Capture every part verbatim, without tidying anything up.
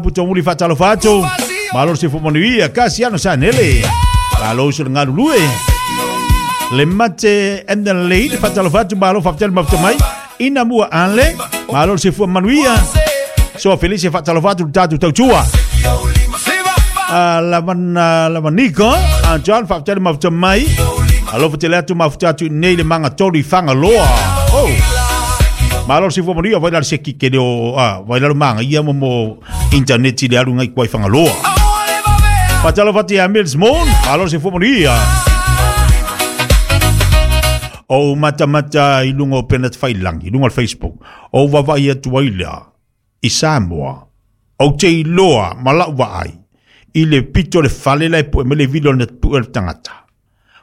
Putomuli fatalofa atu. Malo se fumanuia Kasiano Sanele. Malo se ngalulue. Le mate and the lady fatalofa atu malo faftele maftomai. Ina mua ale. Malo se fumanuia. So felice fatalofa atu tatu tautua. La man la maniko a John faftele maftomai. Alo fatele atu maftatu nei le manga tori fanga loa. Oh. Malo se fumanuia vai la se kike o ah vai la manga ia mo internet le alu ngai kwai fanga loa. Fatalo fati a Mills Moon, malo se fumanuia. O mata mata i lunga o penat failangi, i lunga o Facebook. O vavai atu ai lea, i Samoa. O te iloa, malau vaai, i le pito le fale la e po e mele vilo na pu e le tangata.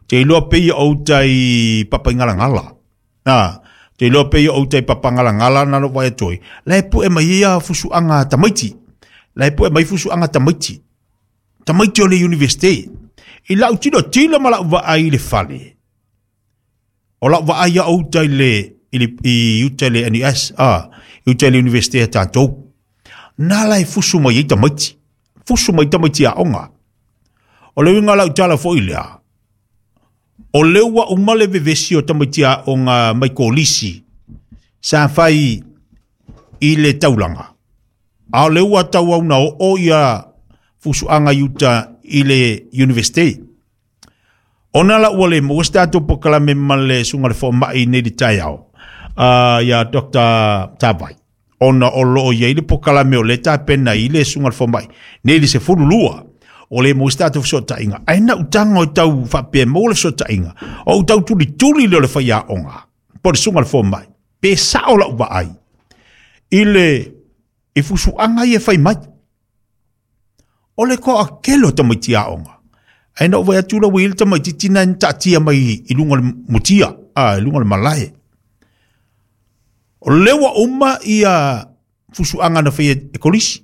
Te iloa pe ia o tai papaingalangala. Ah, te iloa pe ia o tai papangalangala na lo vai toi. La e pu e mai ia fusuanga tamaiti. La e pu e mai fusuanga tamaiti. Tamaiti o le university. I lau tilo tilo ma lau vaai le fale. O lau vaai ia o tai le i le i uta le N U S, ah, i uta le university a tātou. Nā la e fusu mai i tamaiti. Fusu mai tamaiti a onga. O le winga lau tala fo i lea. O le ua umale vevesi o tamaiti a onga mai kolisi. Sa whai i le taulanga. A o le ua tau au na o o ia fusuanga i uta i le university. Ona la ua le mo stato po kala me male sunga le fo mai nei le taiao. Uh, ia Doctor Tavai. Ona o loo ia i le po kala me o le tapena i le sunga le fo mai. Nei le se fululua. O le mo stato fesotainga. Ai na utanga o tau whapea mo le fesotainga. O utau tuli tuli le o le whaia onga. Po le sunga le fo mai. Pe sao la uwa ai. I le i fusuanga i e whai mai. O le ko a kelo tamaiti a onga. Ai na uwai atu la ui tamaiti tina ni tatia mai i lunga le mutia. Ah, i lunga le malae. O lewa uma ia fusuanga na whai e kolisi.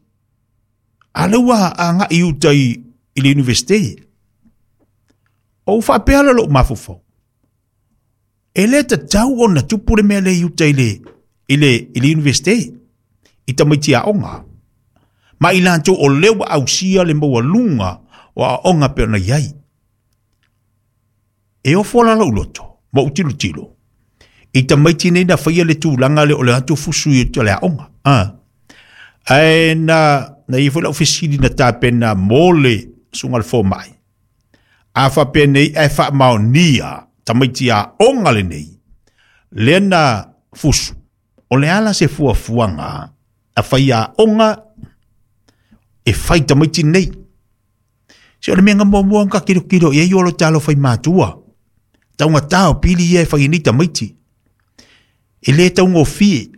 A lewa a nga i uta i, i le university. O whapea lo mafufau. E le tatau o na tupu le mea le i uta i le, i le, i le university. I tamaiti a onga. Ma i lantou o lewa ausia le maua lunga o a onga pe ona iai. E o fola la uloto, ma utilo tilo. I tamaiti nei na whaia le tūlanga le o le atu fusu i o le a onga. Ah. Ae na, na i fola ofisili na tāpena mole sunga le fōmai. A whapea nei e whaamaonia tamaiti a onga le nei. Le na fusu. O le ala se fuafuanga a whaia onga e whai tamaiti nei. Se o le mea mua mua ka kilo kilo i e iolo talo whai mātua. Taunga tao pili ia e whai ni tamaiti. E le taunga fie.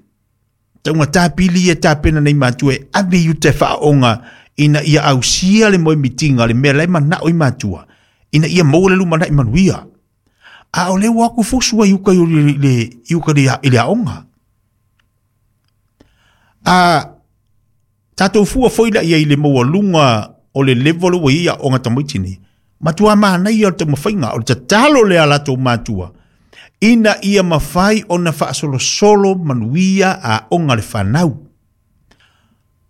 Taunga tā pili ia tā pena nei mātua e ave i te whaonga ina ia ausia le moe mitinga le mea lai manao i mātua. Ina ia maua le luma nai manuia. A o le waku fusua i uka i le, i uka le, i le aonga. A tātou fua foila ia i le maua lunga o le level o ia onga tamaiti nei. Matua mana ia o te mawhainga, o le tatalo le ala tō matua. Ina ia mawhai o na whaasolosolo manuia a onga le whanau.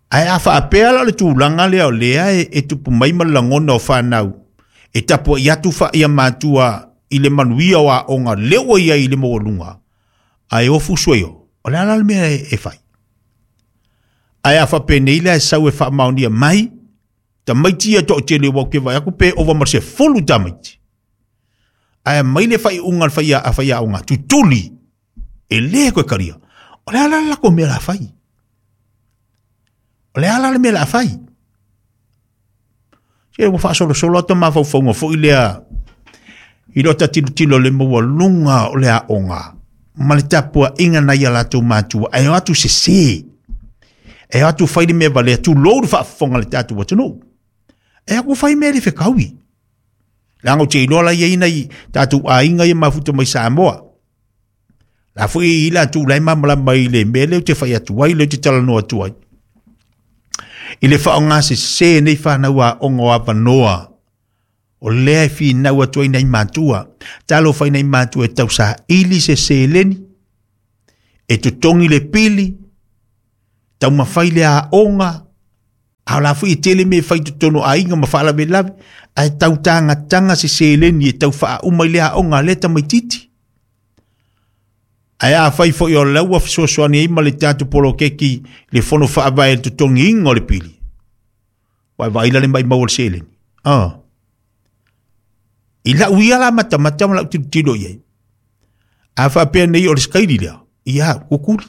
Ai a whaapea la le tūlanga lea o lea e, e tupu mai malangona o whanau. E tapu i atu wha ia matua i le manuia o a onga leo ia i le mawalunga. Ai o fusue o, o le ala le mea e, e whai. Ai a whapenei lea e sau e whaamaunia mai, tamaiti ia tō te lewa ke vai aku pe ova marse folu tamaiti. Ai mai le whai unga le whai a whai a unga tutuli e le koe karia. O le ala la ko mea la whai. O le ala le mea la whai. Se ua whaasolo solo ata mawhauwhaunga fo i lea i lo ta tilo tilo le maua lunga o le a onga. Ma le tapua inga na ia latou mātua. Ai o atu se se. E atu whai le mea valea tu loru whaafonga le tātou watunu. E aku whai mea le whekaui. Langa o te iloa la ia ina i tātou ainga ia mafuta mai Samoa. La fui i la tū lai mamala mai le mea leo te whai atu ai, leo te talanoa atu ai. I le whaonga se se nei whanau a ongo a wanoa. O lea e whinau atu ai nei mātua. Talo whai nei mātua e tausa ili se se leni. E tutongi le pili. Tau mawhai le a onga. A o la foi e tele me fai totonu aiga ma faalavelave, ae tautagataga se seleni e tau faauma i le aoga a lea tamaititi. Ae afai foi o le ua fesoasoani ai ma le tatou poloketi le fono faavae i le totogiina o le pili, ua e vaai la le maimau o le seleni. Ah. I lau ia la matamata ma lau tilotilo i ai. A faapea nei o le sikaili lea, ia, kukuli.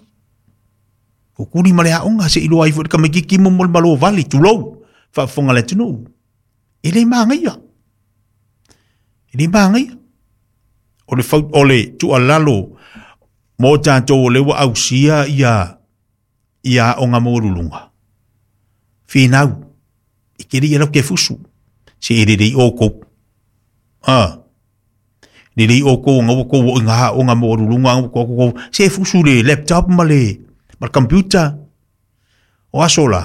Kukuli ma le aoga se iloa ai foi le tamaititi mo mo le malo vale, tulou, faafofoga le atunuu. E le magaia. E le magaia. O le, fau, o le tuualalo mo tatou o le ua ausia ia, ia aoga maualuluga. Finau, e kele ia lau ke fusu. Se e lelei o kou. Ah. Lelei o kou ngau kou o inga aoga maualuluga ngau kou kou. Se fusu le laptop ma le, ma le computer. O aso la.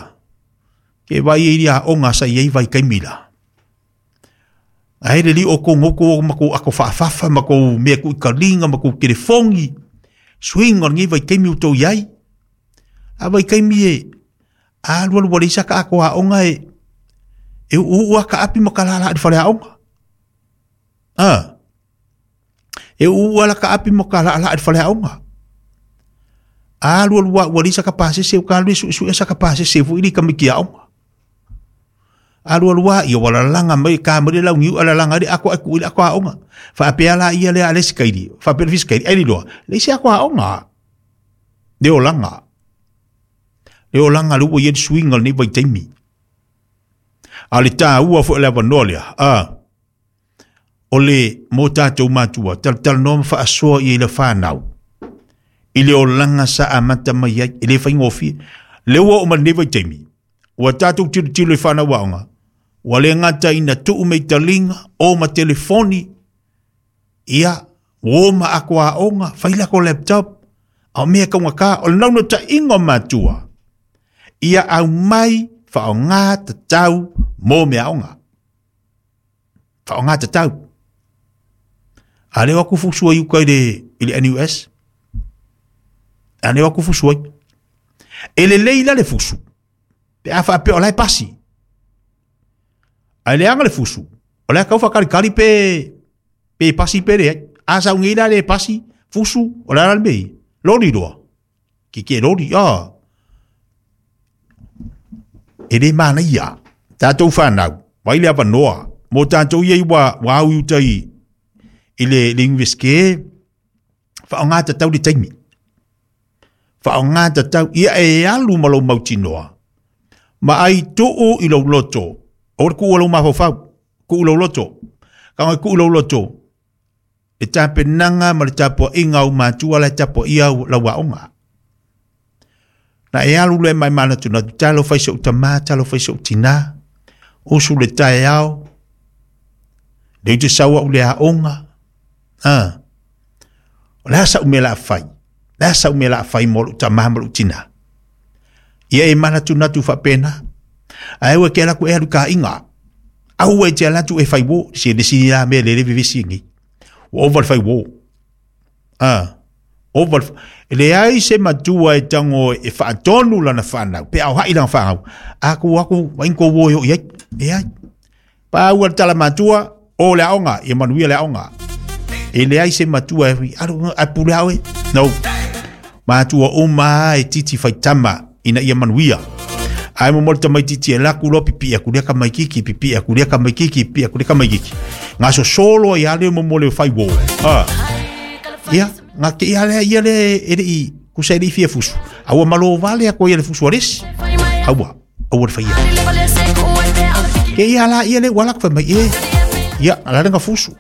Ke vai e ia aoga sa iai vai kaimila. Ae lelei o kou ngau kou ma kou ako faafafa ma kou mea ku ikalinga ma kou telefongi. Swing o ngi vai kaimi utou iai. A vai kaimi e a lua lua leisa ka ako aoga e e uu aka api ma kalala i fale aoga. Ah. E uu ala ka api ma kalala i fale aoga. A lua lua ua leisa ka pasese o ka lua su su esa ka pasese fu ili kamiki aoga. A lua lua ia wala langa mai ka mai lau ngiu ala langa ri ako aku ili ako aoga. Fa apea la ia le ale sikaili. Fa apea fiskaili ai loa. Leisi ako aoga. Le olanga. Le olanga lu ia swing al ni vai taimi. A le tāua fo le avanoa lea. Ah. O le mo tātou matua. Tal tal no ma faasoa ia i le whanau. I le olanga sa amata mai ai. I le whaingofie. Le ua o ma ni vai taimi. Ua tātou tilo tilo i whanau aoga. Ua le ngata ina tuu mei talinga, o ma telefoni, ia, o ma ako aoga, whaila ko laptop, a mea kaunga ka, o le nauna ta ingo matua. Ia au mai, whaonga tatau, mō mea aoga. Whaonga tatau. A leo aku fusua i uka i le, i le N U S. A leo aku fusua i. E le leila le fusu. Pe a whaapea o lai pasi. A le anga le fusu. O lai kau whakarikari pe, pe pasi pe le. A sa ungeila le pasi, fusu, o lai rale mei. Lori roa. Ki ke lori, ah. E le mana ia. Tātou whanau. Vai le avanoa. Mō tātou ia i wa, wa au iuta i, i le, le universike. Whaonga tatau le taimi. Whaonga tatau. Ia e alu ma lau mautinoa. Ma ai tuu i lau loto. O le kuu lau mafaufau. Kuu lau loto. Ka ngai kuu lau loto. E tapenanga ma le tapua inga au matua le tapua ia au lau aoga. Na e alu le mai mana tuna. Talo fai seu tama, talo fai seu tina. Usu le tae ao. Le ute saua u le aoga. Ah. O le asa u mea la fai. Le asa u mea la fai mo lu tama ma lu tina. Ia e mana tuna tu whapena. A ewe ke alaku e alu ka inga. Au e te alatu e whai wo. Si e nisi la mea le le vivisi ngi. O over whai wo. Ah. Over. Le ai se matua e tango e whaatonu lana whanau. Pe au hai lana whanau. Aku aku wainko wo yo iai. E ai. Pa ua tala matua o le aonga. Ia manuia le aonga. E le ai se matua e alu a pule au e. No. Matua uma e titi whaitama ina ia manuia. Ai mo molta mai titi e laku lo pipi aku lea ka mai kiki pipi aku lea ka mai kiki pipi aku lea ka mai kiki. Ngā so solo ia le mo mo le whai wo. Ah. Ia, ngā ke ia le ia le e le i kusa e le i fia fusu. Aua malo vale ako ia le fusu aresi. Aua, aua le whaia. Ke ia la ia le walak whai mai e. Ia, ala le ngā fusu.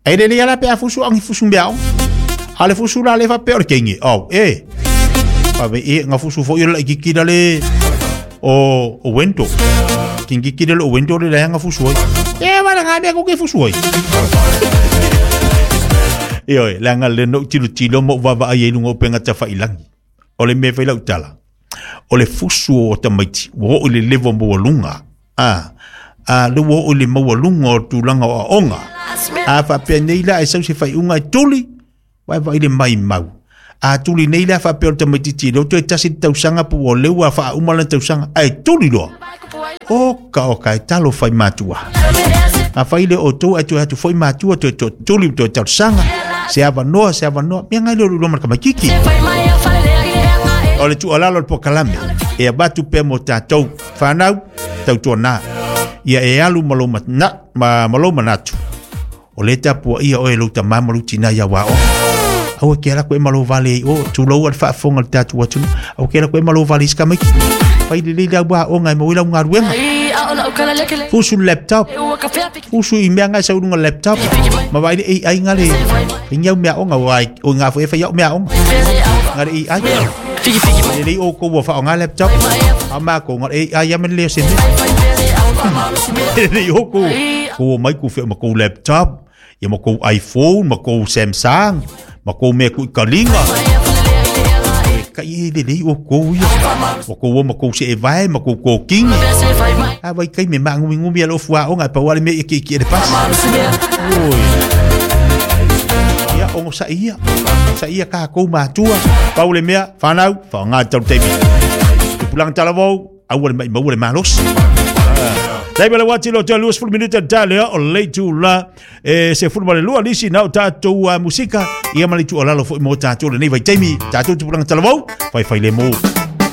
Ai le le ia la pe a fusu angi fusu mea o. A le fusu la le wha pe o le keingi. Au, e. Pawe e ngā fusu fo ia la i kikira le o o wento. Kingi kira le o wento le la ngā fusu ai. E wala ngā mea koke fusu ai. E oi, le anga le no tilo tilo mo wawa ai lunga o penga tawha ilangi. O le mea whaila utala. O le fusu o tamaiti. Wo o le levo maua lunga. Ah, a le wo o le maua lunga o tūlanga o aonga. A whapea nei la e sau se whai unga e tuli. Wai wai le mai mau. A tuli nei la whapea o tamaiti tilo. Toe tasi tausanga pu o leua wha umala tausanga. Ai tuli loa. O ka o ka e talo fai matua. A fai le o tau atu atu foi matua toe to tuli toe talosaga. Se avanoa, se avanoa. Mea ngai le o lua ma le kamaititi. O le tuualalo o le pokalame. E avatu pea mo tatou. Whanau, tautuana. Ia e alu ma lou matna, ma, ma lou manatu. O le tapua ia oe lou tamā ma lou tinā ia wā o. Aua ke ala koe malo vale i o, tulou al whaafonga le tātou atunu. Aua ke ala koe malo vale i skamaiki. Whai le leila wā o ngai mo ila unga ruenga. Fusu laptop. Fusu i mea ngai sa urunga laptop. Ma vai le A I ngā le. Inga mea onga wai, o ngā fo e whai au mea onga. Ngā le A I. Le lei o kou wa wha o ngā laptop. A mā ko ngā A I amen leo se me. Le lei o kou. Kou o mai kou whea ma kou laptop. Ia ma kou iPhone, ma kou Samsung. Ma kou mea kui kalinga. Ka i le lei o kou ia. Ma kou o ma kou se e vai, ma kou kokingi. A vai kai me maangumi ngumi a lofu a onga e pawale me i ki ki e le pasi. Oi. Ia ongo sa ia. Sa ia ka kou matua. Pau le mea, whanau, whaonga tau teimi. Tupulanga talavou, aua le mai maua le malosi. Dai bele wati lo te luas fulu minuta tale o leitu la e se fulu male lua lisi nau tātou uh, musika ia mali tu alalo fo mo tātou le nei vai taimi tātou tupulanga talavou fai fai le mo.